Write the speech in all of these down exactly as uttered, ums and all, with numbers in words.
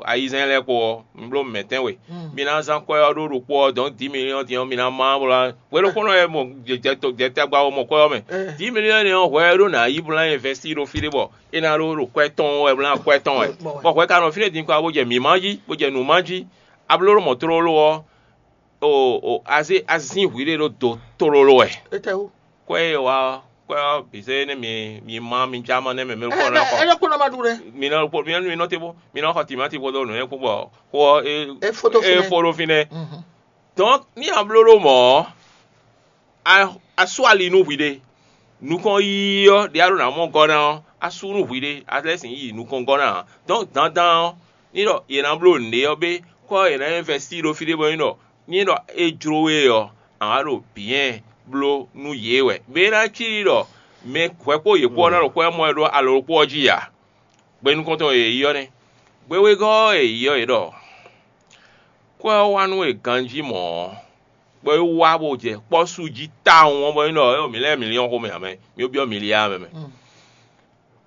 ayizɛ́n lɛ́ɛ kpo ɔ́, un bló mɛ̌tɛn we. Mi ná zán kwɛ́ ɔ́ ɖó ɖokpó ɔ́, dɔ̌n dǐ miliyɔ́n din ɔ́, mi ná má bó ná hwenu kpɔ́n nɔ wɛ mɔ jɛtɛgba ɔ́ mɔ kwɛ́ ɔ́ mɛ. Dǐ miliyɔ́n énɛ́ ɔ́, hwɛ e ɖó ná yí bó ná invɛstír ɖo fí ɖé bɔ é ná ɖó ɖo kwɛ́ tɔn wɛ bó ná kwɛ́ tɔn wɛ. Bɔ hwɛ ka nɔ fínɛ́ din kɔ bó jɛ mǐ má jí, bó jɛ nǔ má jí. A bló ɖó mɔ̌ tlóló ɔ́, o o azé azín hwǐ ɖé ɖó do tlóló wɛ. Kwɛ́ e wa ɔ́, kwɛ́ ɔ́ bǐ zé nú mi mi má mi já mɔ nɛ́ mɛ mi kɔ ná xɔ. Ɛlɔ kó nɔ ma ɖu ɖɛ. Mi nɔ kpɔ mi nɔ mi nɔ te bó mi nɔ xɔ timáti kpódó nǔ nyɛ́ kpó bɔ xó ɔ́ é E fó ɖó e fínɛ́. Fó ɖó fínɛ́. Dɔn ní a bló ɖó mɔ̌ ɔ́, a sú ali nú hwi ɖé. Nukɔn yiyi ɔ́ ɖě a ɖo nǎ mɔ gɔ́ ná ɔ́, a sú nú hwi ɖé, a lɛ́ sixú yi nukɔn gɔ́ ná ǎ. Dɔn dandan ɔ́, ní ɖɔ yě ná bló nǔɖé ɔ́ bé, kɔ yě ná invɛstír ɖo fí ɖé bɔ é ɖɔ ní ɖɔ é jló we ɔ́, a wǎ ɖo bǐɛ́n bló nú yě wɛ. Bɔ é ná cí ɖɔ mɛ hwɛ kpó yě kpó ɔ́ ná ɖo xwɛ mɔ ɛ ɖó alɔ ɖokpó ɔ́ jí ǎ. Gbe nukɔntɔn e yě yi ɔ́ nɛ́. Gbe wegɔ́ ɔ́ e yě yi ɔ́, yě ɖɔ: Kwɛ́ ɔ́ wá nú we ganjí mɔ̌ ɔ́, bɔ é wá bó jɛ kpɔ́ su jí tawun ɔ́, bɔ é ɖɔ: Éeǒ, mǐ lɛ́ɛ mǐ nyɔ́ xomɛ ǎ mɛ, mǐ byɔ́ mǐ lyá mɛ mɛ.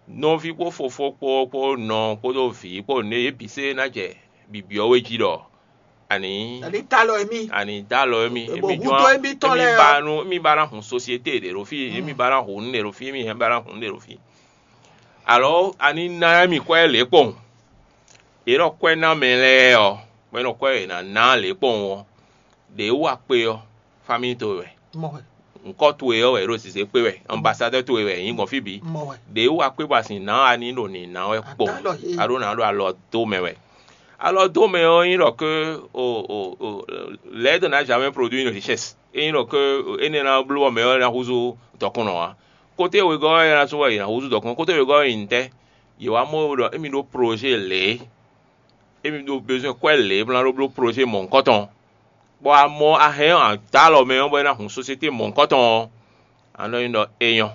Nɔví kpó fofó kpó kpó nɔ kpódó vǐ kpó nǔɖé yě bǐ se ná jɛ bibyɔ́ we jí ɖɔ: Ani Ani ta lɔ émí. Ani dó alɔ émí, Ebo émí húzú jɔ́n émí tɔn émí lɛ́ɛ ba ɔ́. Nú émí ba ná hun sosiété ɖě ɖo fí, émí ba ná hun nǔɖé ɖo fí, émí ba ná hun nǔɖé ɖo fí. Alɔ ani ná émí kwɛ́ lě kpɔn. Yě nɔ kwɛ́ ná mɛ lɛ́ɛ ɔ́, bɔ é nɔ kwɛ́ yě ná ná lě kpɔn ɔ́, ɖě wú akpe ɔ́, famíi towe wɛ. Mɔ hwɛ. Ŋkɔ́ towe ɔ́ wɛ è ɖo zǐzé kpé wɛ, ambasadɛ́ towe wɛ è nyǐ gbɔn fí bǐ. Mɔ hwɛ. Ɖě wú akpe bɔ a sin nǎ ani ɖo nǐ ná wɛ kpɔn. Adó alɔ he. A ɖó ná ɖo alɔ dó mɛ wɛ. Alɔ dó mɛ ɔ́ nyí ɖɔ ké o o o l'aide n'a jamais produit une richesse. É nyí ɖɔ ké énɛ́ ná bló bɔ mɛ ɔ́ ná húzú dɔkunnɔ ǎ. Kóté wegɔ́ ɔ́ ná sú wɛ è nǎ húzú dɔkunnɔ. Kóté wegɔ́ ɔ́ nyi ntɛ́? Yě wá mɔ ɖɔ émí ɖó projet lě. Émí ɖó bezoin kwɛ́ lě bó ná ɖó bló projet mɔ̌hunkɔtɔn. Bɔ a mɔ a hɛn ɔ́, a dó alɔ mɛ ɔ́, bɔ é ná hun sosiété mɔ̌hunkɔtɔn ɔ́, a nɔ nyi ɖɔ é nyɔ́.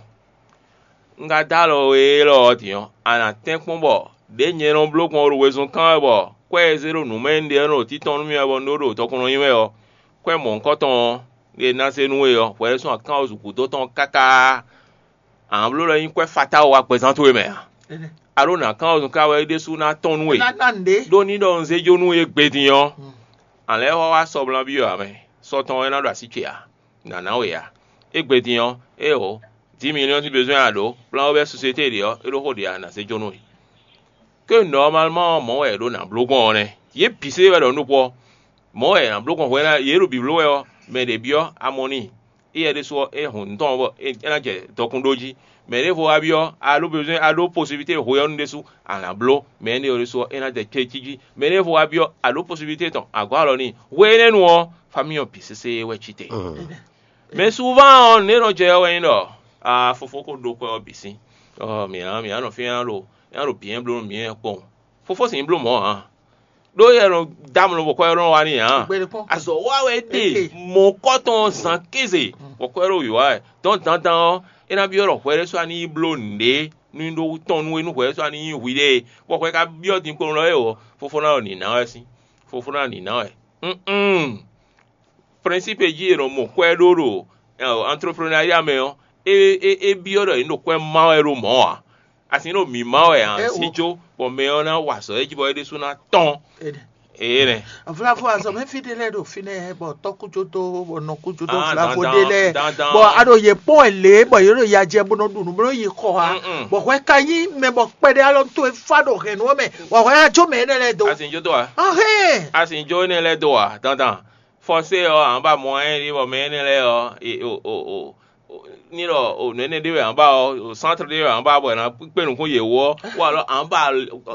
Un ka dó alɔ we élɔ́ ɔ́ din ɔ́, a nǎ tɛ́nkpɔ́n bɔ ɖěe nyɛ nɔ bló gbɔn ɖo wezun kán wɛ bɔ kwɛ́ e zé ɖo nǔ mɛ un ɖe ɔ́ nɔ ɖo títɔn nú mì wɛ bɔ un ɖó ɖo tɔkunnɔ nyi wɛ ɔ́, kwɛ́ mɔ̌hunkɔtɔn ɔ́, e ná zé nú we ɔ́, hwɛ ɖésú akánwúzu gǔdo tɔn káká. A nǎ bló ɖɔ é nyí kwɛ́ fatáwo wá gbɛzán towe mɛ a? A ɖó nǎ kán ɔ́ zɔn ká wɛ é ɖésú ná tɔ́n nú we. Ná ná nǔɖé. Ɖó ní ɖɔ un zé jó nú we égbé din ɔ́, a lɛ́ wá wá sɔ́ blán byɔ́ ǎ mɛ. Sɔ́ tɔn wɛ ná ɖo así ce ǎ, nǎ ná we ǎ. Égbé din ɔ́, éeǒ, dǐ miliyɔ́n sín bezwɛ́n a ɖǒ, kplán we bɛ́ sosiété ɖě ɔ́, é ɖó xó ɖě ǎ, nǎ zé jó nú we. Ke nɔmalman ɔ́, mɔ̌ wɛ è ɖǒ nǎ bló gbɔn ɔ́ nɛ́. Yě bǐ se wɛ ɖɔ nǔ ɖokpó ɔ́, mɔ̌ wɛ è nǎ bló gbɔn hwɛ ná yě ɖo bǐbló wɛ ɔ́, mɛ ɖě byɔ́ a mɔ n'i. Éyɛ́ ɖésú ɔ́, é hun nǔ tɔn bɔ é ná jɛ dɔkun ɖó jí. Mɛ ɖěvo wá byɔ́, a ɖó bezwɛ́n, a ɖó posibilité hwe ɔ́ nu ɖésú, a nǎ bló. Mɛ énɛ́ ɔ́ ɖésú ɔ́, é ná jɛ céjí. Mɛ ɖěvo wá byɔ́, a ɖó posibilité tɔn, a gɔ́ alɔ n'i. Hwe énɛ́ nu ɔ́, famíɔ bǐ sésé wɛ cí te. Mɛ souvent ɔ́, nǔ e nɔ jɛ ɔ́ wɛ nyí ɖɔ a fofó ko ɖó kwɛ́ ɔ́ bǐ sín. Ɔ́, mǐ ná mǐ ná nɔ fí ná ɖo ná ɖo bǐ nɛ́ bló nú mǐ nɛ́ kpɔ́n. Fofó sǐ bló mɔ̌ ǎ. Ɖó yɛ nɔ dó amlɔ bɔ kwɛ́ ɔ́ nɔ wá n'i ǎ. Azɔ̌ wa wɛ ɖe mɔ̌kɔtɔn zǎn kéze bɔ kwɛ́ ɖo wǐwá wɛ. Dɔn dandan ɔ́, é ná byɔ́ ɖɔ hwɛ ɖésú a ní yi bló nǔɖé nú nyí ɖó tɔn nú we nú hwɛ ɖésú a ní nyí hwi ɖé. Bɔ hwɛ ka byɔ́ din kpowun lɔ é ɔ́, fofó ná ɖo nǐ ná wɛ sín. Fofó ná ɖo nǐ ná wɛ. Principe e jí è nɔ mɔ kwɛ́ ɖó ɖo entreprenariat mɛ ɔ́, é é é byɔ́ ɖɔ è nǐ ɖo kwɛ́ má wɛ ɖó mɔ̌ ǎ. A si ɖo mǐ má wɛ ǎ, sí jó, bɔ mɛ ɔ́ ná wa azɔ̌ é jí bɔ é ɖésú ná tɔ́n. Ée nɛ́. Vlavo azɔ̌mɛví ɖé lɛ́ɛ ɖo fínɛ́ bɔ tɔ́kújó dó bɔ nɔkújó dó vlavo ɖé lɛ́ɛ bɔ a ɖo yě kpɔ́n wɛ lě bɔ yě ɖo ya jɛ bó nɔ ɖu nǔ bó nɔ yi xɔ ha bɔ hwɛ ka nyí mɛ bɔ kpɛɖé alɔ towe fá ɖo hɛ̌nnu ɔ́ mɛ bɔ hwɛ ná jó mɛ énɛ́ lɛ́ɛ dó. A si jó dó a? Ahɛn. A si jó énɛ́ lɛ́ɛ dó a dandan? Fɔsé ɔ́, a nǎ ba mɔ ɛ ɖi bɔ mɛ énɛ́ lɛ́ɛ ɔ́, e- o- o- o- o- ní ɖɔ o nǔ énɛ́ ɖé wɛ a nǎ ba ɔ́, o sántre ɖé wɛ a nǎ ba bɔ è nǎ kpé nǔkún yě wú ɔ́, wó alɔ a nǎ ba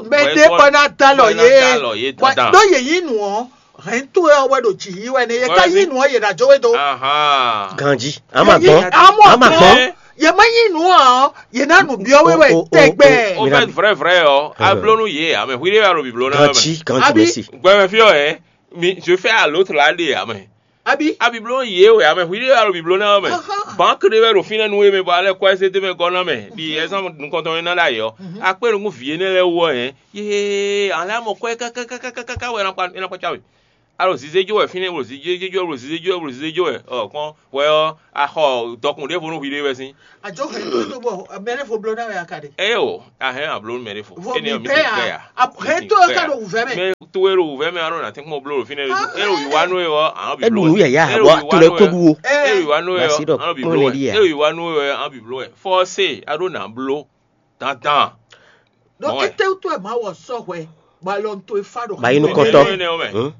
Mɛ ɖé kɔ ná dó alɔ yě. Bɔ ɖó yě yí nǔ ɔ́, hɛ̌n towe ɔ́ wɛ ɖo jǐ yí wɛ nɛ. Yě ká yí nǔ ɔ́, yě ná jó we dó. Ahan. Ganji, ama gbɔn, Amɔ ama gbɔn. Yě má yí nǔ ɔ́, yě ná nǔ byɔ́ we wɛ O- o- o- tɛgbɛ. O- Au fait, vrai, vrai, ɔ́, a bló nú yě, ame hwi ɖé wɛ a ɖo bǐbló ná wɛ mɛ. Ganji, ganji, Abi. Merci. Gbɛmɛ fí ɔ́, ɛ, mi, je fais à l'autre là, ɖe ame. Abi. A bǐbló yě wɛ, ame hwi ɖé wɛ a ɖo bǐbló ná wɛ mɛ. Ahan. Banque ɖé wɛ ɖo fínɛ́ nú we mɛ, bɔ alɛ kɔ ɛ zé dó mɛ gɔ́ ná mɛ. Ɖi ɛzán nukɔntɔn e ná ɖo ayǐ ɔ́. A kpé nukún vǐ énɛ́ lɛ́ɛ wú ɔ́, hɛn. Yee, alɛ amɔ kɔ ɛ kákákákáká wɛ é ná kpa- é ná kpácá we. A ɖo zizé jó wɛ fínɛ́, a ɖo zizé jó wɛ, a ɖo zizé jó wɛ, a ɖo zizé jó wɛ. Ɔ kpɔ́n hwɛ ɔ́, a xɔ dɔkun ɖěvo nú hwi ɖé wɛ sín. Àjọ hɛn tó tó bɔ mɛ ɖé fo bló náà wɛ akadé. Eye o, a hɛn a bló nú mɛ ɖé fo. Vo Énɛ́ mi ɔ́, mi bɛ́ sin kpɛ a, a a hɛn tó ká ɖo wǔvɛ́ mɛ. Mɛ towe ɖo wǔvɛ́ mɛ, a ɖo nǎ tɛ́nkpɔ́n bló ɖo fínɛ́ ɖé. É ɖo wǐwá nú we ɔ́, a nɔ bǐ É bló ɖu wɛ. Nǔ yǎyá, É ɖo bɔ wǐwá to lɛ́ nú we kó ɔ́, ɖu wo. É ɖo wǐwá nú we Basi ɔ́, ɖɔ a nɔ bǐ kpɔ́n bló wɛ. Lɛ ɖíe a? É ɖo wǐwá nú we ɔ́, a nɔ bǐ bló wɛ. Fɔ́sé, a ɖó nǎ bló. Dandan. Ɖɔ Mɔ̌ wɛ. Étɛ́wútu wɛ Mawu ɔ sɔ́ hwɛ bɔ alɔ n to e fá ɖo Ba yi nukɔn. Nukɔntɔ. Énɛ́ ɔ́ mɛ. Hmm?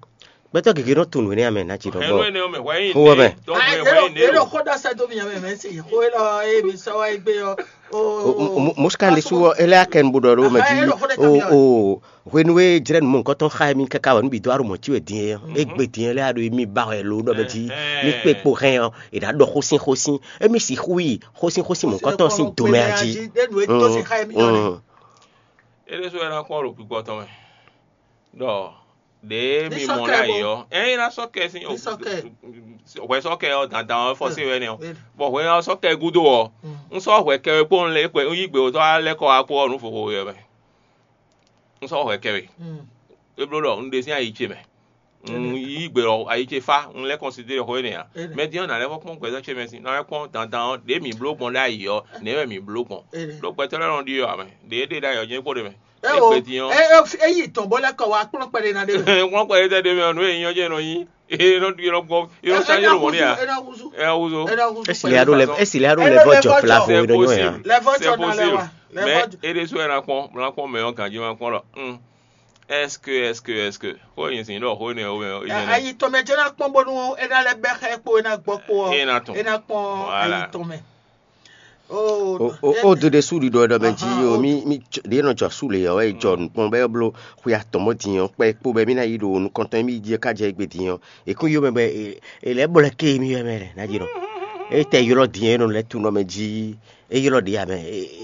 Gbɛtɔ́ gěgé nɔ tunwun énɛ́ amɛ ná ci ɖɔ Hɛn bɔ. Nú énɛ́ ɔ́ mɛ, hwɛ nyi Xó wɛ mɛ. Tɔn hwɛ hwɛ nyi nélò. Xó ɖɔ sɛ dó mi amɛ mɛ si xó élɔ́ é mi sɔ́ wá gbé ɔ́. O Mosika ɖésú ɔ́, é lɛ́ akɛ nu bó ɖɔ ɖó mɛ jí. O o hwenu e jlɛ́ nu mɔ̌hunkɔtɔn xá mì káká wɛ nú bǐ dó aɖo mɔ̌ cí wɛ din é, é gbe din é lɛ́ aɖo mì ba wɛ lo ɖɔ mɛ jí. Mì kpé kpo hɛn ɔ́, è nǎ ɖɔ xósin xósin, émí sixú yi xósin xósin mɔ̌hunkɔtɔn sín domɛ a jí. Ɖé nu e tó sin xá mì ɔ́ nɛ. Mm. É ɖésú wɛ ná kpɔ́n ɖo gbígbɔ tɔn mɛ ɖɔ ɖěe mi mɔ lɛ́ ayǐ ɔ́, ényí ná sɔ́ kɛ sín hwɛ sɔ́ kɛ ɔ́ dandan ɔ́ fɔ́sé wɛ nɛ́ ɔ́, bɔ hwɛ ɔ́ sɔ́ kɛ gúdo ɔ́, un sɔ́ hwɛ kɛ wɛ kpó un lɛ́ kpɛ un yí gbe wotɔ́ wá lɛ́ kɔ wá kpó ɔ́ nǔ vovo wɛ mɛ. Un sɔ́ hwɛ kɛ we. É bló ɖɔ un ɖe sín ayi ce mɛ. Un yí gbe ɖɔ ayi ce fá, un lɛ́ kɔnsidéɖe xó énɛ́ ǎ. Mɛ din ɔ́, nǎ lɛ́ vɔ́ kpɔ́n gbɛzɔ́ ce mɛ sín, nǎ lɛ́ kpɔ́n dandan ɔ́, ɖě mǐ bló gbɔn ɖ'ayǐ ɔ́, nɛ̌ wɛ mǐ bló gbɔn? Ɖó gbɛtɔ́ lɛ́ɛ nɔ ɖi ɔ́ ǎ mɛ. Ɖě é ɖe ɖ'ayǐ ɔ́, jɛ́n kó ɖe mɛ. É o, é gbe din ɔ́, é é é yi tɔn bó lɛ́ kɔ wá kplɔ́n kpɛɖé ná ɖé mɛ. Kplɔ́n kpɛɖé tɛ́ ɖé mɛ ɔ́, nǔ e nyí ɔ́ jɛ́n nɔ nyí. É nɔ ɖi é nɔ gbɔ, é nɔ É- é sánjé nɔ lɔ mɔ̌ ní à. É nɔ húzú. É nɔ húzó. É nɔ húzú Esi pɛ́lú lɛ ɖó lɛ façon. Esi lɛ ɖó lɛ vɔ jɔ fla vo é nɔ nyɔ ya. Lɛ vɔ jɔ na lɛ wa. Lɛ vɔ jɔ. Mɛ é ɖésú wɛ ná kpɔ́n, ná kpɔ́n mɛ ɔ́ ganjí má kpɔ́n ɖɔ. Hmm. Est-ce que, est-ce que, est-ce que? Xó e nyi sin ɖɔ xó énɛ́ ɔ́ mɛ ɔ́, é nyí Ayi tɔn mɛ jɛ́n ná kpɔ́n bónú é ná lɛ́ bɛ́ xá ɛ kpó é ná gbɔ kpó ɔ́. É ná tɔn. É ná kpɔ́n Voilà. Ayi tɔn mɛ. Oh, O o o do ɖe sú ɖiɖɔ ɖɔ mɛ jí Ahan, o o- mi mi ɖě nɔ jɔ sú le ɔ́, é jɔ nukpɔn bɛ bló xwe atɔn mɔ din ɔ́, kpɛ kpó bɛ mi ná yi ɖo nukɔntɔn mi jí ká jɛ gbe din ɔ́, e kún yó mɛ bɛ e lɛ bɔ lɛ ké mi wɛ mɛ lɛ ná jí nɔ. E tɛ ylɔ din e nɔ lɛ tu nɔ mɛ jí, e ylɔ ɖi amɛ,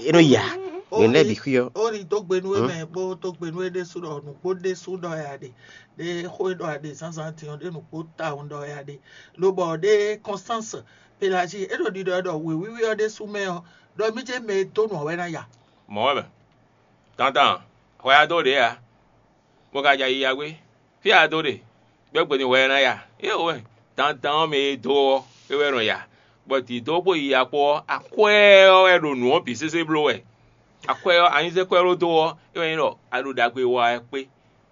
e nɔ ya. Yɛn lɛ bi xwi ɔ́. Ó ní dó gbe nú we mɛ bó dó gbe nú we ɖésú ɖɔ nǔgbó ɖésú ɖɔ ya ɖe, ɖé xó e ɖɔ ya ɖe zǎnzǎn din ɔ́ ɖé nǔgbó tawun ɖɔ ya ɖe, lobɔ ɖé Constance Pelagie é ɖo ɖiɖɔ ɛ ɖɔ wěwíwí ɔ́ ɖésú mɛ ɔ́, ɖɔ mí jɛ́n mɛ e dó nǔ ɔ́ wɛ ná ya. Mɔ̌ wɛ mɛ. Dandan, hwɛ a dó ɖě ǎ, bó ka ja yiya gbé. Fí a dó ɖe, gbɛ́gbɛ́ din hwɛ ɛ ná ya. Éeǒ wɛ, dandan ɔ́ mɛ e dó ɔ́, é wɛ nɔ ya. Bɔ dǐdó kpó yiya kpó ɔ́, akwɛ́ ɔ́ wɛ ɖo nǔ ɔ́ bǐ sésé bló wɛ. Akwɛ́ ɔ́, anyízɛ́kwɛ́ ló dó ɔ́, é wɛ nyí ɖɔ a ɖo ɖagbe wa wɛ kpé.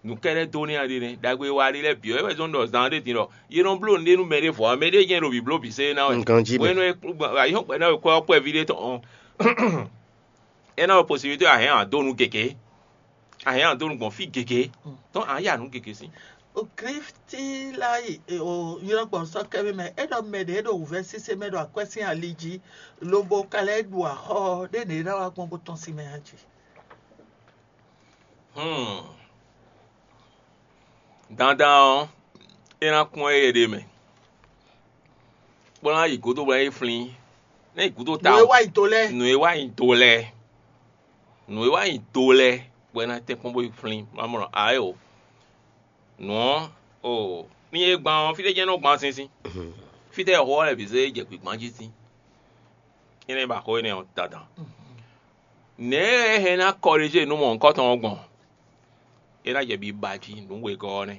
Nǔ kɛ́ɖɛ́ dó n'i a ɖe nɛ́, ɖagbe wa ɖé lɛ́ɛ bǐ ɔ́, é wɛ zɔ́n ɖɔ zan ɖé din ɖɔ yě nɔ bló nǔɖé nú mɛɖé vɔ̌ ǎ, mɛɖé jɛ́n ɖo bǐbló bǐ sɛ́ ná wɛ. Ganjí mɛ. Hwenu e ayǐhɔ́ngbe ná wekɔ́ ɔ́ kpɔ́ ví ɖé tɔn ɔ́, é ná wɛ posibilité a hɛn a dó nǔ gěgé, a hɛn a dó nǔ gbɔn fí gěgé, tɔn a ya nǔ gěgé sín. Kristi la yi o ylɔ́ gbɔn sɔ́ kɛ́ mɛ, é ɖɔ mɛ ɖě ɖo wǔvɛ́ sésé mɛ ɖo akwɛ́ sín ali jí, lobo ka lɛ́ ɖu axɔ́ ɖé nǔ e ná wá gbɔn bó tɔ́n sín mɛ ǎ jí. Hmm. Dandan ɔ́, é ná kpɔ́n éyɛ́ ɖé mɛ, bó ná yi gǔdo bó ná yi flín. Ná yi gǔdo ta Nǔ e wá yi do lɛ́ɛ. Nǔ e wá yi do lɛ́ɛ. Nǔ e wá yi do lɛ́ɛ, bɔ é ná tɛ́nkpɔ́n bó yi flín. Má mɔ ǎ o. Nǔ ɔ́, o ní é gbán ɔ́, fítɛ́ jɛ́n nɔ gbán sín sín? Fítɛ́ xó ɔ́ lɛ́ bǐ zé jɛ gbǐgbán jí sín? Énɛ́ ba xó énɛ́ ɔ́ dandan. Nɛ̌ é hɛn ná kɔɖéje nú mɔ̌hunkɔtɔn ɔ́ gbɔn? É ná jɛ biba jí nǔ wegɔ́ ɔ́ nɛ́.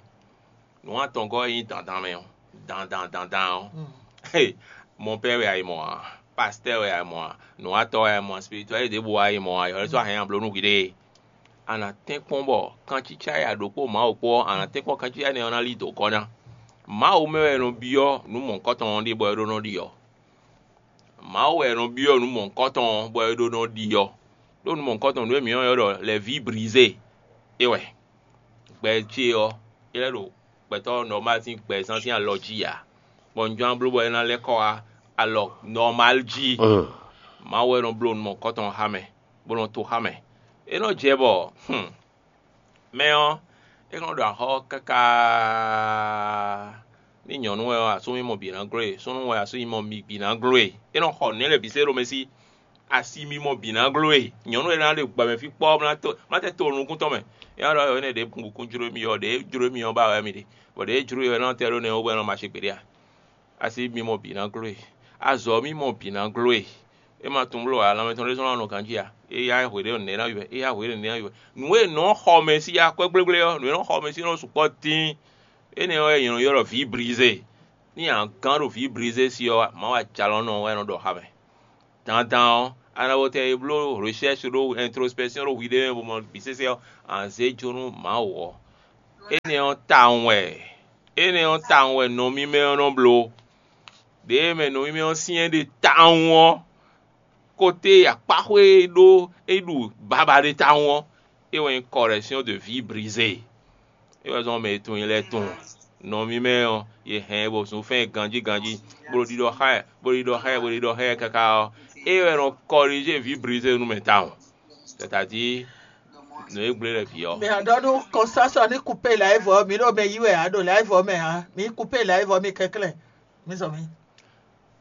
Nǔ atɔngɔ́ e nyí dandan mɛ ɔ́, dandan dandan ɔ́, mɔpɛ́ wɛ a yi mɔ ǎ, pastɛ́ wɛ a yi mɔ ǎ, nǔwatɔ́ wɛ a yi mɔ ǎ, spiritualiste ɖěbǔ wɛ a yi mɔ ǎ, yɔ̌ sɔ́ a hɛn nyi bló nú hwiɖée. A nǎ tɛ́nkpɔ́n bɔ kancícá e a ɖǒ kpó Mawu kpó ɔ́, a nǎ tɛ́nkpɔ́n kancícá énɛ́ ɔ́ ná lí dǒ gɔ́ ná. Mawu mɛ wɛ è nɔ byɔ́ nǔ mɔ̌hunkɔtɔn ɔ́ ɖe bɔ é ɖó nɔ ɖi ɔ́. Mawu wɛ è nɔ byɔ́ nǔ mɔ̌hunkɔtɔn ɔ́, bɔ é ɖó nɔ ɖi ɔ́. Ɖó nǔ mɔ̌hunkɔtɔn nǔ e mǐ nɔ ylɔ́ ɖɔ lɛ̌ví brizé é wɛ. Gbɛ ce ɔ́, é lɛ́ ɖo gbɛtɔ́ nɔmáli sín gbɛzán sín alɔ jí ǎ, bɔ un jló ná bló bɔ é ná lɛ́ kɔ wá alɔ nɔmáli jí. Mawu wɛ nɔ bló nǔ mɔ̌hunkɔtɔn xá mɛ, bó nɔ to xá mɛ. É nɔ jɛ bɔ, hmm, mɛ ɔ́, é nɔ ɖo axɔ́ káká. Ní nyɔ̌nu wɛ ɔ́, asú mímɔ bǐ ná gló e; súnnu wɛ, asú mímɔ bǐ ná gló e. É nɔ xɔ nǔ lɛ́ɛ bǐ sɛ́ ɖo mɛ sí. Asi mímɔ bǐ ná gló e. Nyɔ̌nu e ná ɖe gbɔmɛ fí kpɔ́, má tɛ to nukún tɔn mɛ. É ná ɖɔ énɛ́ ɖě nukún jló mì ɔ́, ɖě jló mì ɔ́ ba wɛ mì ɖe, bɔ ɖě jló e ɔ́, é nɔ tɛ ɖó nɛ́ wú bɔ é nɔ ma ṣe gbeɖé a? Asi mímɔ bǐ ná gló e. Azɔ̌ mímɔ bǐ ná gló e. É ma tunwun bló ǎ, lanmɛ tɔn ɖésú ná nɔ ganjí ǎ. Éyá hwe ɖé nɛ̌ ná yi wɛ? Éyá hwe ɖé nɛ̌ ná yi wɛ? Nǔ e nɔ xɔ mɛ sí akwɛ́ gblégblé ɔ́, nǔ e nɔ xɔ mɛ sí nɔ sukpɔ́ dín. Énɛ́ ɔ́ wɛ nyɛ nɔ ylɔ́ ɖɔ vǐ Blizé. Nú a gán ɖo vǐ Blizé sí ɔ́, Mawu ajalɔ̌nɔ wɛ nɔ ɖɔ xá mɛ. Dandan ɔ́, a nɔ bo tɛ e bló recherche ɖó introspection ɖó hwiɖée mɛ bo mɔ bǐ sésé ɔ́, a nǎ zé jó nú Mawu ɔ́. Énɛ́ ɔ́ tawun wɛ, énɛ́ ɔ́ tawun wɛ nɔ mímɛ́ ɔ́ nɔ bló. Ɖěe mɛ nɔ mímɛ́ ɔ́ syɛ́n ɖe tawun ɔ́, kote akpáxwé e ɖó é ɖu babaɖe tawun ɔ́, é wɛ nyí correction de vie brisée. É wɛ zɔ́n mɛ e tunwun i lɛ́ɛ tunwun. Nɔ mímɛ́ ɔ́, yě hɛn ɛ bɔ zunfɛ́n ganjí ganjí, bó ɖo ɖiɖɔ xá ɛ, bó ɖo ɖiɖɔ xá ɛ, bó ɖo ɖiɖɔ xá ɛ káká ɔ́, é wɛ nɔ corriger vie brisée nú mɛ tawun. C'est-à-dire, nǔ e gblé lɛ́ vǐ ɔ́. Mɛ a ɖɔ nú kɔnsásɔ ní kupé lǎyɛ́vɔ ɔ́, mi ɖo mɛ yí wɛ ǎ ɖo lǎyɛ́vɔ mɛ ǎ, mi kupé lǎyɛ́vɔ mi kɛnklɛ́n, mi zɔ mi.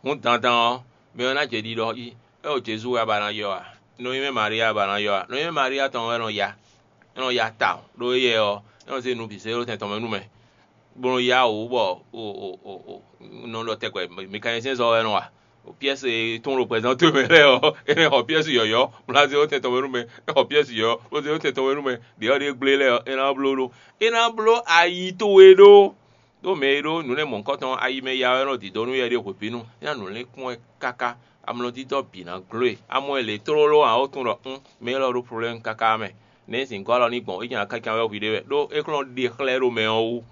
Hǔn dandan ɔ́, mɛ ɔ́ ná jɛ ɖiɖɔ jí. É ɖo Jezu wɛ a ba ná ylɔ́ a? Nɔ nyi mɛ Maria a ba ná ylɔ́ a? Nɔ nyi mɛ Maria tɔn wɛ nɔ ya. É nɔ ya tawun, ɖó éyɛ́ ɔ́, é nɔ zé nǔ bǐ zé ɖó tɛn tɔn mɛ nú mɛ, bó nɔ yá wǔ bɔ o o o o un nɔ ɖɔ tɛgbɛ, mɛkanisiɛn zɔ́ wɛ nɔ wa. Pyɛ́si e tún ɖo gbɛzán towe mɛ lɛ́ɛ ɔ́, é nɔ xɔ pyɛ́si yɔ̌yɔ́, bó ná zé ɖó tɛn tɔn mɛ nú mɛ. É xɔ pyɛ́si yɔ̌yɔ́, bó zé ɖó tɛn tɔn mɛ nú mɛ. Ɖě ɔ́ ɖíe gblé lɛ́ɛ ɔ́, é ná bló ɖó. É ná bló ayi towe ɖó. Ɖó mɛ e ɖó nǔ lɛ́ɛ mɔ̌hunkɔtɔn ɔ́, ayi mɛ ya wɛ nɔ dǐdó nú yɛ ɖíe hwebǐnu. É ná nǔ lɛ́n kpɔ́n ɛ káká. Amlɔdídɔ́ bǐ ná gló e. A mɔ ɛ lě tlóló ǎ, ó tunwun ɖɔ un, mɛ élɔ́ ɖó problɛ́mu káká mɛ. Nɛ̌ zǐngɔ́ alɔ ní gbɔn? É jɛ́n akácán wɛ hwiɖée wɛ, ɖó é kplɔ́n ɖe xlɛ́ ɖó mɛ ɔ́ wú.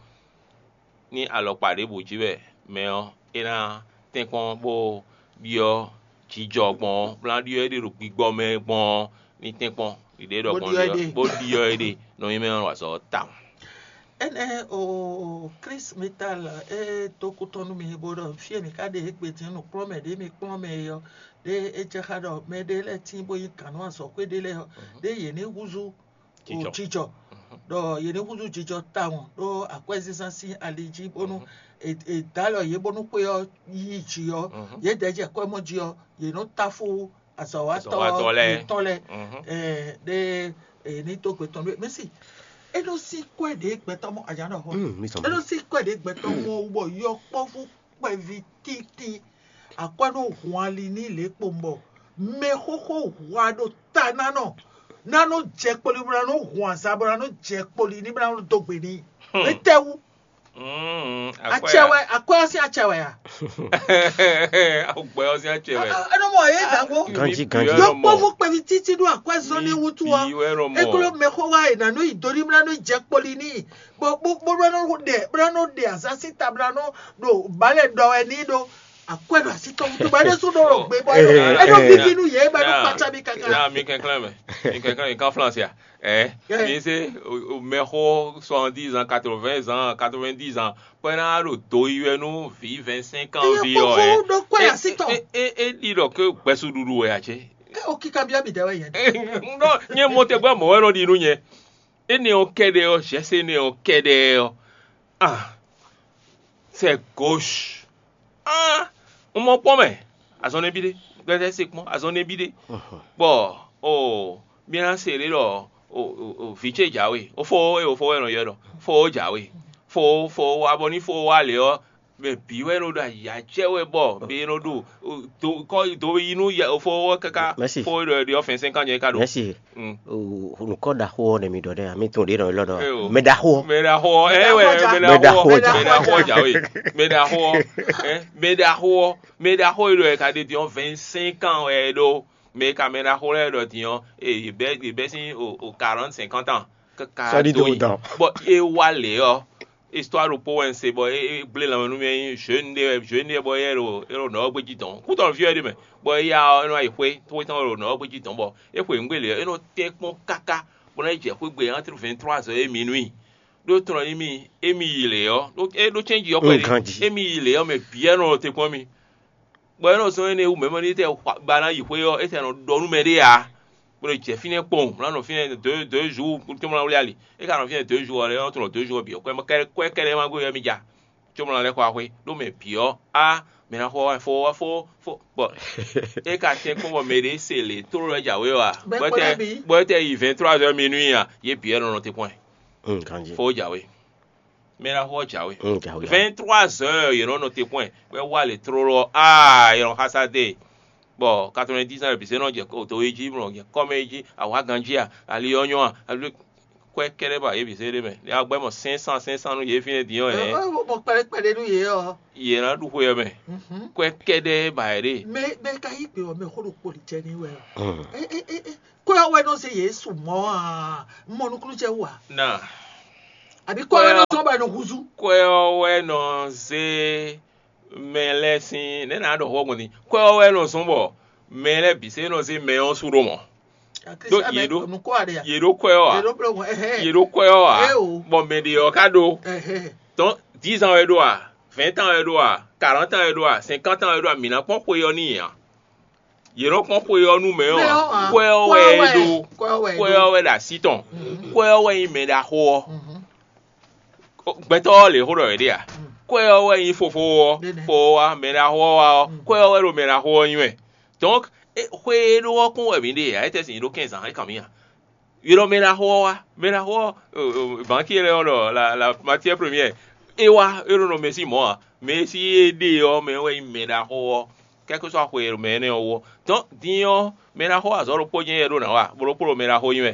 Ní alɔkpa ɖěbǔ jí wɛ mɛ ɔ́, é ná tɛ́nkpɔ́n bó ɖyɔ́ jijɔ gbɔn ɔ́, bó ná ɖyɔ́ éɖée ɖo gbigbɔ mɛ gbɔn ɔ́, ní tɛ́nkpɔ́n ɖiɖée ɖɔ Bó gbɔn ɖyɔ́ ɖe ɔ́, éɖée. Bó ɖyɔ́ éɖée, nɔ nyí mɛ ɔ́ wǎ sɔ́ tawun. Énɛ́ o Klísu mi ta lɛ é dó kú tɔn nú mi, bó ɖɔ fí e mi ka ɖe égbé din nǔkplɔ́nmɛ ɖě mi kplɔ́n mɛ é ɔ́, ɖé é jɛ xá ɖɔ mɛ ɖé lɛ́ɛ tíin bó nyí gǎn nú azɔ̌xwé ɖé lɛ́ɛ ɔ́, ɖé yě ní húzú o Jijɔ. Jijɔ, ɖɔ yě ní húzú jijɔ tawun ɖó akwɛ́zínzán sín ali jí bónú è è dǒ alɔ yě bónú xwé ɔ́ yí jǐ ɔ́, yědɛɛ jɛ kwɛ́mɔ jí ɔ́, yě nɔ táfú azɔ̌watɔ́ Azɔ̌watɔ́ lɛ́ɛ. Yětɔn lɛ́ɛ. Mhm. Ɛɛ, ɖé è ní dó gbe tɔn ɖó mɛ̌si. É nɔ sín kwɛ́ ɖě gbɛtɔ́ mɔ ajǎnɔxɔ. Mm, mi sɔn. É nɔ sín kwɛ́ ɖě gbɛtɔ́ mɔ wú bɔ yɔkpɔ́vú kpɛví títí akwɛ́ nɔ hun ali ní lě kpowun bɔ mɛxóxó hwa ɖo ta ná nɔ ná nɔ jɛ kpoli bó ná nɔ hun azan bó ná nɔ jɛ kpoli ní bó ná nɔ dó gbe n'i. Étɛ́wú? Mm, akwɛ́ Acɛ a? Wɛ, akwɛ́ ɔ́ sín acɛ wɛ a? Agbɛ ɔ́ sín acɛ wɛ. Ɛ nɔ mɔ yě dǎgbó. Ganjí, ganjí. Yɔkpɔ́vú kpɛví títí ɖó akwɛ́ zɔn ní wútu ɔ́. Bí wɛ nɔ mɔ. Ékló mɛxó wá è nǎ nɔ yi do ní bó ná nɔ jɛ kpoli n'i. Bɔ bó bó bó nɔ ɖe bó nɔ ɖe azan sín ta bó nɔ ɖo balɛ ɖɔ wɛ ní ɖó akwɛ́ ɖo así tɔn wútu bɔ é ɖésú ɖó ɖo gbé bɔ é ɖo é ɖó víví nú yě bɔ é ɖó kpatsa mì káká. Náà mi kɛnklɛ́n mɛ, mi kɛnklɛ́n mi kan Flansɛ a? Ɛ mi se mɛxó soixante-dix ans, quatre-vingts ans, quatre-vingt-dix ans, bɔ é ná ɖo do yi wɛ nú vǐ vingt-cinq ans ví ɔ́ ɛ. Ɖó kwɛ́ así tɔn. É é é ɖi ɖɔ ké gbɛsúɖuɖu wɛ a cé? Ké o kíkan byɔ́ mì dɛ wɛ yɛn. Nɔ nyɛ mɔ tɛgbɛ mɔ̌ wɛ nɔ ɖi nú nyɛ. Énɛ́ ɔ́ kɛ́ɖɛ́ ɔ́, Jɛ̌sɛ́nɛ ɔ́ kɛ́ɖɛ́ ɔ́, ah, c'est gauche. Ah, un mɔ kpɔ́n mɛ, azɔn nɛ́ bí ɖé, gbɛtɛ́ se kpɔ́n, azɔn nɛ́ bí ɖé. Bɔ o mi ná se ɖé ɖɔ o o o vǐ ce jǎwe, o fó e o fó wɛ nɔ ylɔ́ ɖɔ fó jǎwe, fó fó wa bɔ ní fó wa lě ɔ́, mɛ bǐ wɛ nɔ ɖo ayǐ acɛ wɛ bɔ mɛ e nɔ ɖo do kɔ do yi nú fó ɔ́ káká. Mɛ̌si. Fó e ɖɔ ɖiɔ fɛn sɛn kan nyɛ ka ɖo. Mɛ̌si. Mm. Nukɔ ɖaxó ɔ́ nɛ mi ɖɔ ɖɛ, mi tún ɖě nɔ élɔ́ ɖɔ. Mɛ ɖaxó ɔ́. Mɛ ɖaxó ɔ́, ɛ wɛ mɛ Mɛ ɖaxó ɖaxó ɔ́, ɔ́, mɛ ɖaxó ɔ́ jǎwe, mɛ ɖaxó ɔ́, ɛ mɛ ɖaxó ɔ́, mɛ ɖaxó e ɖɔ ɛ ka ɖe din ɔ́ vingt cinq ans wɛ é ɖó, mɛ e ka mɛ ɖaxó lɛ́ɛ ɖɔ din ɔ́, e yě bɛ́ yě bɛ́ sín o o quarante cinquante ans káká Sɔ́ ɖi dó dó yi. Dán. Bɔ é wá lě ɔ́, histoire ɖokpó wɛ un se bɔ é é gblé lanmɛ nú mì, é nyí jeune ɖé wɛ, jeune ɖé bɔ éyɛ́ ɖo é ɖo nɔ̌ ɔ́ gbéjí dɔ̌n. Kútɔnúví wɛ ɖ'é mɛ, bɔ éya ɔ́ é nɔ yi xwé, xwé tɔn ɖo nɔ̌ ɔ́ gbéjí dɔ̌n, bɔ é xwe nǔgbé lě ɔ́, é nɔ tɛ́n kpɔ́n káká bó ná yi jɛ xwé gbe entre vingt trois heures et minuit. Ɖó tlɔn émi émi yi lě ɔ́, ɖó é ɖó cɛ́nji ɔ́ kpɛɖé, émi yi lě ɔ́ mɛ bǐ wɛ nɔ te kpɔ́n mì. Bɔ é nɔ zɔ́n énɛ́ wú mɛ mɔ ní tɛ ba ná yi xwé ɔ́, é tɛ nɔ ɖɔ nú mɛ ɖé ǎ. Bó nɔ jɛ fínɛ́ kpɔ́n, bó ná nɔ fínɛ́ deux deux jours, tó má wlí ali. É ka nɔ fínɛ́ deux jours ɔ́, é nɔ tlɔn deux jours bǐ ɔ́, kwɛ kɛ́ɖɛ́ kwɛ kɛ́ɖɛ́ má gbe wɛ mi ja. Có bó ná lɛ́ xɔ axwé, ɖó mɛ bǐ ɔ́, á mɛ ná xɔ wá fó wá fó fó bɔ é ka tɛ́n kpɔ́n bɔ mɛ ɖě se lě tlóló wɛ jǎwe ɔ́ ǎ. Bɔ é tɛ bɔ é tɛ yi vingt trois heures minuit ǎ, yě bǐ wɛ nɔ nɔ te kpɔ́n ɛ. Ganjí. Fó jǎwe. Mɛ ná xɔ jǎwe. Mm, jǎwe. Vingt trois heures yě nɔ nɔ te kpɔ́n ɛ, bɔ é wá lě tlóló ɔ́, aa yě nɔ xásá dé. Bɔ quatre vingt dix ans bǐ se nɔ jɛ to e jí, nɔ jɛ kɔ́mɛ e jí, awǎ ganjí a, ali ɔ́ nyɔ́ a, ali Kwɛ́ kɛ́ɖɛ́ ba yě bǐ zé ɖ'é mɛ. Ní a gbɛ́ mɔ sɛ́n san sɛ́n san nú yě fínɛ́ din ɔ́, hɛ̌n, Ɔ, ɔ, mɔ kpɛɖé kpɛɖé nú yě ɔ́. Yě ná ɖu xwe ɔ́ mɛ. Mhm. Kwɛ́ kɛ́ɖɛ́ ba yě ɖe. Mɛ mɛ ka yí gbe ɔ́, mɛ xó ɖo kpoli jɛ ní wɛ ɔ́. Ɛ, ɛ, ɛ, ɛ, Kó ɔ́ wɛ nɔ zé Yesu mɔ a? Mɔ nukúnnú jɛ wú a? Na Àbí kó ɔ́ wɛ nɔ zɔn bɔ è nɔ húzú? Kwɛ́ ɔ́ wɛ nɔ zé mɛ lɛ́ɛ sín nɛ̌ ná ɖɔ xó gbɔn din. Kwɛ́ ɔ́ wɛ nɔ zɔn bɔ mɛ lɛ́ɛ bǐ se nɔ zé mɛ ɔ́ su ɖó mɔ. Ɖó yě ɖó yě ɖó kwɛ́ ɔ́ ǎ. Yě ɖó bló gbɔn. Yě ɖó kwɛ́ ɔ́ ǎ. Bɔ mɛ ɖě ɔ́ ka ɖó. Tɔn dix ans wɛ ɖó a, vingt ans wɛ ɖó a, quarante ans wɛ ɖó a, cinquante ans wɛ ɖó a, mǐ ná kpɔ́n xwe ɔ́ n'i ǎ. Yě nɔ kpɔ́n xwe ɔ́ nú mɛ ɔ́ ǎ. Kwɛ́ ɔ́ wɛ é ɖó. Kwɛ́ ɔ́ wɛ ɖo así tɔn. Kwɛ́ ɔ́ wɛ nyí mɛ ɖaxó ɔ́. Gbɛtɔ́ ɔ́ lě xó ɖɔ wě ɖe a? Kwɛ́ ɔ́ wɛ nyí fofó ɔ́. Fo ɔ́ wá mɛ ɖaxó ɔ́ wá ɔ́, kwɛ́ ɔ́ wɛ ɖo mɛ ɖaxó ɔ́ nyí wɛ. Dɔnk, xwe e ɖó ɔ́ kún wɛ mǐ ɖe ǎ, étɛ́ sin nyí ɖó kɛ́nzǎn é kan mǐ a? Ylɔ́ mɛ ɖaxó ɔ́ wá. Mɛ ɖaxó ɔ́, banki lɛ́ɛ ɔ́ ɖɔ la la matière première. É wá é ɖo nɔ mɛ sín mɔ̌ ǎ. Mɛ e sí é ɖe ɔ́ mɛ wɛ nyí mɛ ɖaxó ɔ́. Kɛ́kúsú axwe e ɖo mɛ énɛ́ ɔ́ wú ɔ́. Dɔn din ɔ́, mɛ ɖaxó azɔ̌ ɖokpó jɛ́n yɛ ɖó nǎ wa, bó ɖokpó ɖo mɛ ɖaxó nyí wɛ.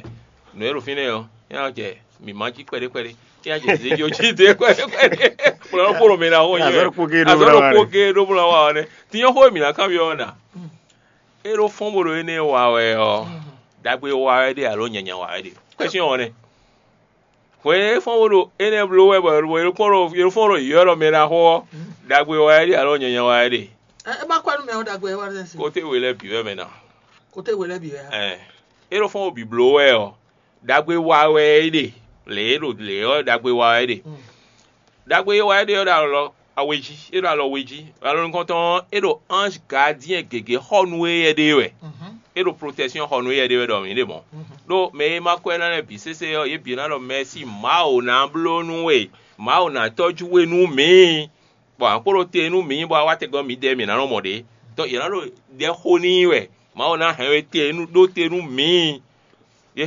Nǔ e ɖo fínɛ́ ɔ́, é ná jɛ mǐ má jí kpɛɖé kpɛɖé. É ná jɛ zějó jí dé kpɛɖé kpɛɖé. Bó ɖokpó ɖo mɛ ɖaxó nyí wɛ. Azɔ̌ ɖokpó géé ɖó bó ná wa ɔ́ nɛ́. Din ɔ́ xó e mǐ ná kanbyɔ́ ɔ́ nǎ. É ɖó fɔ́n bó ɖo énɛ́ wa wɛ ɔ́, ɖagbe wa wɛ ɖe alo nyanya wa wɛ ɖe? Kwɛ́syɔ́n ɔ́ nɛ́. Hwɛ e fɔ́n bó ɖo énɛ́ bló wɛ bɔ è ɖo fɔ́n ɖo yɔ́ ɖɔ mɛ ná xo ɔ́, ɖagbe wa wɛ ɖe alo nyanya wa wɛ ɖe? Ɛ, é má kɔ nú mɛ ɔ́ ɖagbe wá ɖe si. Kóté we lɛ́ɛ bǐ wɛ mɛ ná. Kóté we lɛ́ɛ bǐ wɛ. Ɛ, é ɖo fɔ́n bó bǐ bló wɛ ɔ́, ɖagbe wa wɛ é ɖe. Lě e ɖo lě ɔ́, ɖagbe wa wɛ é ɖe. Ɖagbe e wa é ɖe ɔ́ ɖo alɔ awe jí, é ɖo alɔ we jí. Alɔ nukɔntɔn ɔ́, é ɖo ange gardien gěgé xɔ nú éyɛ́ ɖe wɛ. É ɖo protection xɔ nú éyɛ́ ɖe wɛ ɖɔ mǐ ɖe mɔ̌. Ɖó mɛ e ma kɔ ɛ ná lɛ́ɛ bǐ sésé ɔ́, yě bǐ ná ɖɔ mɛ̌si, Mawu ná bló nú we, Mawu ná tɔ́jú we nú mǐ. Bɔ a kpo ɖo te nú mǐ bɔ a wá tɛgbɛ mǐdɛɛ mǐ ná nɔ mɔ ɖě. Dɔn yě ná ɖo ɖɛ xo n'i wɛ. Mawu ná hɛn we te nú ɖó te nú mǐ.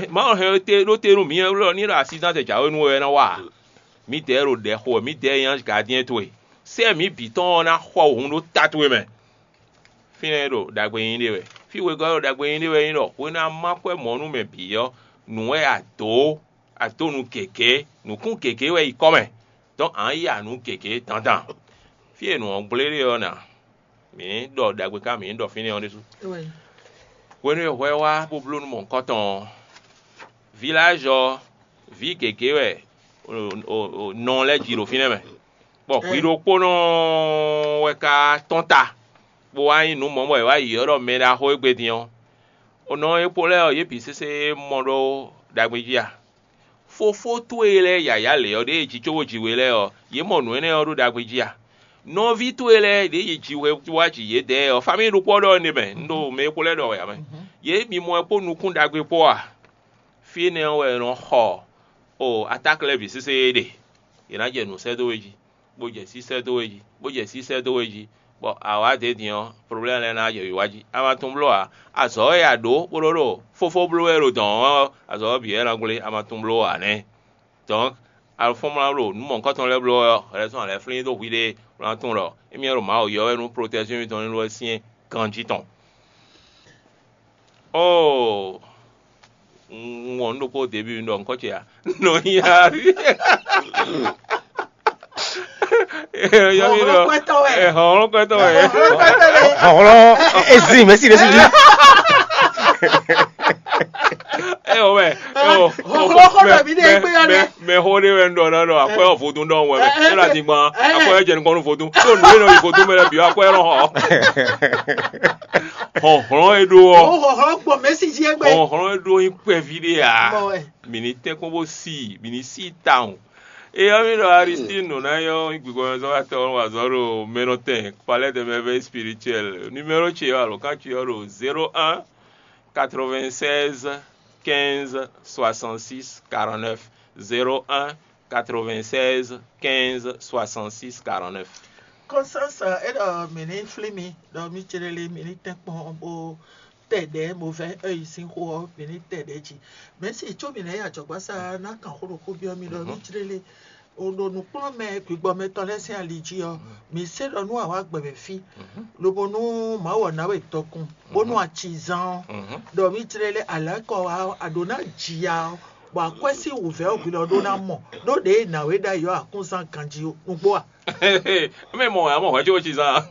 Mawu hɛn we te ɖó te nú mǐ wɛ ní ɖo asizán jǎwe nú we wɛ ná wa ǎ. Mǐdɛɛ ɖo ɖɛ xo wɛ, mǐdɛɛ nyí ange gardien towe. Sɛ́ mǐ bǐ tɔn ɔ́ ná xɔ wǔ ɖó ta towe mɛ. Fínɛ́ ɖo ɖagbe nyí ɖe wɛ. Fí wegɔ́ ɖo ɖagbe nyí ɖe wɛ nyí ɖɔ hwenu e a má kwɛ́ mɔ̌ nú mɛ bǐ ɔ́, nǔ wɛ a dǒ, a dǒ nǔ gěgé, nǔkún gěgé wɛ yi kɔ́ mɛ. Dɔn a nǎ ya nǔ gěgé dandan. Fí e nǔ ɔ́ gblé ɖe ɔ́ nǎ, mǐ ɖɔ ɖagbe ká mǐ ɖɔ fínɛ́ ɔ́ ɖésú. Hwenu e hwɛ wá bó bló nú mɔ̌hunkɔtɔn ɔ́, vilage ɔ́, vǐ gěgé wɛ nɔ lɛ́ɛ ji ɖo fínɛ́ mɛ, bɔ hwi ɖokpónɔ wɛ ka tɔ́n ta, bó wá nyí nǔ mɔ̌ bɔ è wá yi ɔ́ ɖɔ mɛ ɖaxó égbé din ɔ́. Nɔ e kpo lɛ́ɛ ɔ́, yě bǐ sésé mɔ ɖó ɖagbe jí a? Fofó towe lɛ́ɛ yǎyá lě ɔ́ ɖě e jǐ cóbó ji we lɛ́ɛ ɔ́, yě mɔ nǔ énɛ́ ɔ́ ɖó ɖagbe jí a? Nɔví towe lɛ́ɛ ɖě yi ji hwe wá ji yědɛɛ ɔ́, famíyi ɖokpó ɔ́ ɖɔ énɛ́ mɛ, un ɖo mɛ e kpo lɛ́ɛ ɖɔ wɛ ǎ mɛ. Yě mi mɔ ɛ kpó nukún ɖagbe kpó a? Fí énɛ́ ɔ́ wɛ è nɔ xɔ o atáklɛ́vǐ sésé e ɖe. Yě ná jɛ nǔ sɛ́ dó we jí, bó jɛ sí sɛ́ dó we jí, bó jɛ sí sɛ́ dó we jí, bɔ a wǎ dě din ɔ́, problɛ́mu lɛ́ɛ ná jɛ wǐwá jí. A ma tunwun bló ǎ. Azɔ̌ e a ɖǒ bó ɖó ɖo fófó bló wɛ ɖo dɔ̌n ɔ́, azɔ̌ ɔ́ bǐ wɛ ná gblé, a ma tunwun bló ǎ nɛ́. Dɔ̌n, a fɔ́n mlá ɖo nǔ mɔ̌hunkɔtɔn lɛ́ɛ bló wɛ ɔ́, hwɛɖɛzɔn a lɛ́ flín dó hwi ɖé, bó ná tunwun ɖɔ émí wɛ ɖo Mawu yɔ́ wɛ nú protection mitɔn ní ɖó wɛ syɛ́n ganjí tɔn. Oo, un wɔn nǔ ɖokpó debí un ɖɔ nukɔn ce ǎ. Nɔ nyi ari. Yɔ mi ɖɔ. Hlɔnhlɔn kɔtɔ wɛ. Hlɔnhlɔn kɔtɔ wɛ. Hlɔnhlɔn ezin mɛsi ɖe si di. Ɛ o mɛ. Hlɔnhlɔn kɔtɔ mi ɖe gbé yɔ dɛ. Mɛ xó ɖé wɛ un ɖɔ ná ɖɔ akwɛ́ ɔ́ vodún ɖɔhun wɛ mɛ. É ɖo adingban akwɛ́ ɔ́ jɛ nukɔn nú vodún. Tó nǔ e nɔ yi vodún mɛ lɛ́ɛ bǐ wá akwɛ́ ɔ́ nɔ xɔ. Hlɔ̌nhlɔ́n e ɖó ɔ́. Hlɔ̌nhlɔ́n gbɔn mɛ̌si jí é gbé. Hlɔ̌nhlɔ́n e ɖó nyí kpɛví ɖé ǎ. Mì ní tɛ́nkpɔ́n bó sí i, mì ní sí i tawun. É ɔ́ mì ɖɔ Aristine nɔ ná nyɔ́ gbǐgbɔ́mɛzɔ́watɔ́ ɔ́ wazɔ́ ɖo mɛnɔtɛn Palais de Merveille Spirituelle. Numéro ce ɔ́ alǒkan ce ɔ́ ɖo zéro un quatre-vingt-seize quinze soixante-six quarante-neuf. Zéro un quatre-vingt-seize quinze soixante-six quarante-neuf. Constance, é ɖɔ mǐ ní flín mi, ɖɔ mí céɖélé mǐ ní tɛ́nkpɔ́n bó tɛ ɖɛ̌ movɛ ɔ́ yi sín xó ɔ́, mǐ ní tɛ ɖɛ̌ jí. Mɛ̌si có mǐ ná yi ajɔ̌gbásá ná kan xó ɖokpó byɔ́ mi ɖɔ mí céɖélé o ɖo nǔkplɔ́nmɛ gbǐgbɔmɛtɔn lɛ́ɛ sín ali jí ɔ́, mǐ sé ɖɔ nú awǎ gbɛmɛ fí, lobo nú Mawu ɔ́ ná we dɔkun, bónú acizán ɔ́, ɖɔ mí céɖélé alǎkɔ wa ɔ́, a ɖǒ ná ji ya ɔ́, Bɔ akwɛ́ sín wǔvɛ́ ɔ́ gbe ɔ́ ɖó ná mɔ ɖó ɖěe nǎwe ɖ'ayǐ ɔ́ akúnzán ganjí nǔgbó a? Mɛ mɔ wɛ amɔ hwɛ cóbó ci zán a?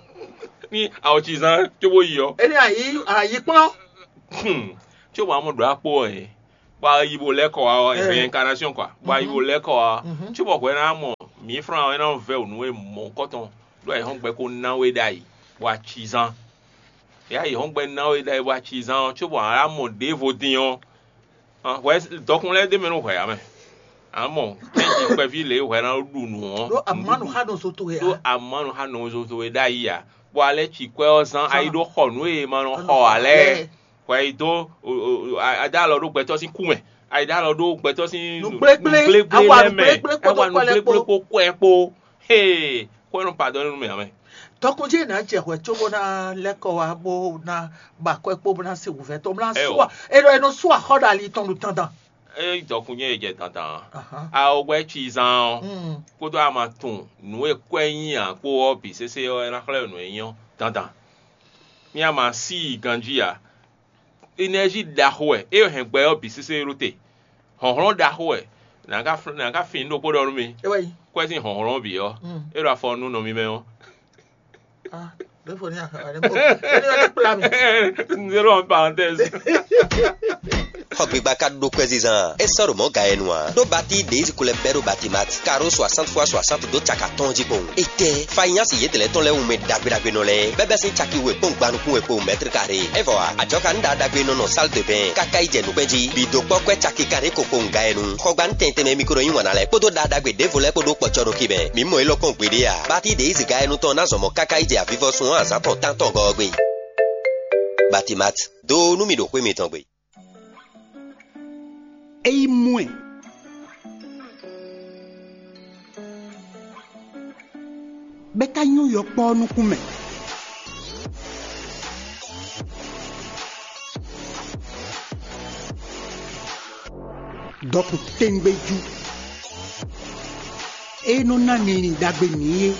Ní awɔ ci zán cóbó yi ɔ́. Énɛ́ ayǐ ayǐ kplɔ́n. Hmm. Cóbó amɔ ɖo akpó ɔ́ ɛ bɔ ayi bo lɛ́ kɔ wá ɔ́, réincarnation quoi, bɔ ayi bo lɛ́ kɔ wá ɔ́, cóbó hwɛ ná mɔ mǐ flán ɔ́ é ná vɛ́ wǔ nú we mɔ̌hunkɔtɔn ɖó ayǐhɔ́ngbe kó ná we ɖ'ayǐ bɔ a ci zán. Yě ayǐhɔ́ngbe ná we ɖ'ayǐ bɔ a ci zán ɔ́, cóbó a mɔ ɖěvo dín ɔ́, hwɛ dɔkun lɛ́ɛ ɖ'é mɛ nú hwɛ ǎ mɛ. A mɔ kɛ́nji kpɛví lě hwɛ ná ɖu nǔ ɔ́, ɖó amanu xa nɔ zo towe ɖó ǎ. Amanu xa nɔ zo towe ɖ'ayǐ ǎ, bɔ a lɛ́ ci kwɛ́ ɔ́ zán a yi ɖó xɔ nǔ e ma nɔ xɔ ǎ lɛ́ɛ. Hwɛ yi dó a dó alɔ ɖó gbɛtɔ́ sín kú mɛ, a yi dó alɔ ɖó gbɛtɔ́ sín nǔgblégbé, nǔgblégbé a wa lɛ́ɛ mɛ, nǔgblégbé kpódó a wa kwɛ́ lɛ́ɛ nǔgblégbé kpó. Kpó kwɛ́ kpó. Hee, xwé nɔ padɔn nú mɛ ǎ mɛ. Tɔkun jí è nǎ jɛ hwɛ cóbó ná lɛ́ kɔ wá bó ná ba akwɛ́ kpó bó ná se wǔvɛ́ tɔn bó ná Ɛ o. Sú a- è nɔ- è nɔ sú axɔ́ ɖo ali tɔn ɖo dandan. É dɔkun nyɛ è jɛ dandan. Ahan. Awɔgbɛ́ ci zán ɔ́ Mm. kpódó ama tun nǔ e kwɛ́ nyí ǎ kpó ɔ́ bǐ sésé ɔ́ é ná xlɛ́ nǔ e nyí ɔ́ dandan. Mí ama sí i ganjí ǎ. Énɛ́zi ɖaxó wɛ é hɛn gbɛ ɔ́ bǐ sésé ɖó te. Hlɔ̌nhlɔ́n ɖaxó wɛ nǎ ka fl- nǎ ka fin ɖokpó ɖɔ nú mi. É wɛ yi. Kwɛ́ sín hlɔ̌nhlɔ́n bǐ ɔ́, Mm. É ɖo afɔ nú nɔ mi mɛ ɔ́. Ah, ɖěvo ní axɔ ɖě mo. Éní wɛ ní kplá mi. Zéro en parenthèse. Xɔ gbigba ka ɖó kwɛ́ zizan. É sɔ́ ɖo mɔ̌ ga yɛ nu ǎ. Ɖó batí ɖězi ko lɛ́ bɛ́ ɖó Batimat, karo soixante fois soixante ɖó caka tɔn jí kpɔn. Étɛ́, fanyási yětɛn lɛ́ɛ tɔn lɛ́ɛ wú mɛ ɖagbe ɖagbe nɔ lɛ́ɛ, bɛ́bɛ́ sín caki we kpɔ́n gban nukún we kpó mɛtri kare. É vɔ ǎ, ajɔka nú ɖa ɖagbe nɔ nɔ salle de bain, káká yi jɛ nǔgbɛ́ jí. Bǐ dó kpɔ́ kwɛ́ caki kanɖé ko kpowun ga yɛ nu. Xɔgbanu tɛn tɛnmɛ mi ko nɔ yí wǎn ná lɛ́ɛ kpódó ɖa ɖagbe ɖěvo lɛ́ɛ kpó ɖó kpɔ́cɔ́ ɖó kí mɛ. Mǐ mɔ élɔ́ kpɔ́n gbeɖé ǎ. Batí ɖě yi zǐga ɛnú tɔn ná zɔn mɔ̌ káká yi jɛ avivɔsun ɔ́ azǎn tɔn tántɔn gɔ́ ɔ́ gbe. Batimat, dó nú mì ɖo xwé mitɔn gbe. É yi mɔ ɛ, bɔ é ka nyɔ́ yɔkpɔ́ ɔ́ nukún mɛ. Dɔkun tɛ́ngbɛ́jú e nɔ ná linlin ɖagbe mǐ é.